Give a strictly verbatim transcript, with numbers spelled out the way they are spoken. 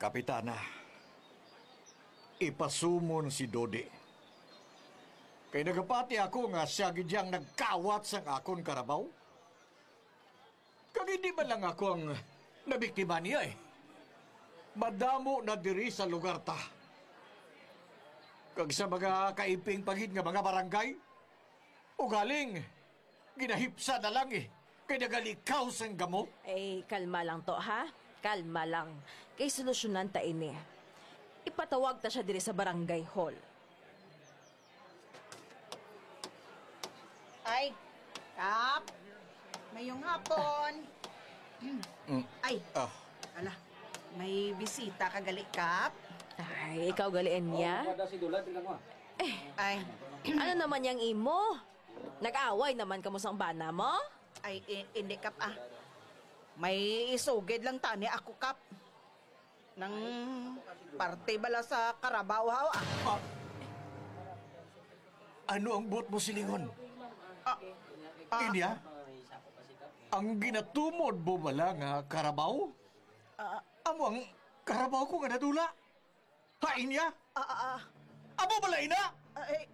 Kapitana, ipasumon si Dodi. Kay nagapati ako nga sia gid yang nagkawat sang akon karabaw. Kag hindi man lang ako ang nabiktima niya, eh. Madamo na diri sa lugar ta. Kag sa mga kaiping pa gid nga mga barangay, ugaling ginahipsa na lang, eh, kay nagalikaw sang gamo. Ay, kalma lang to, ha? Kalma lang. Kay solusyonan ta ini. Ipatawag ta sia diri sa barangay hall. Ay, Kap. Mayong hapon. Mm. Ay, Ah. Ala. May bisita ka gali, Kap. Ay, ikaw gali, Enya? Oh, pada si Dulad, tingnan mo, ah. Ay, Ano naman yang imo? Nag-away naman kamo sang bana mo? Ay, i-, hindi, Kap, ah. May isugid lang tani ako, Kap. Nang parte bala sa karabaw, haw, ah. Ah. Ano ang buot mo silingon? Ah. Ah. Inya? Ang ginatumod mo bala nga karabaw? Ah. Amo ang karabaw ko nga nadula. Ha, inya? Ah, ah, ah. Amo bala ina? Ah, eh,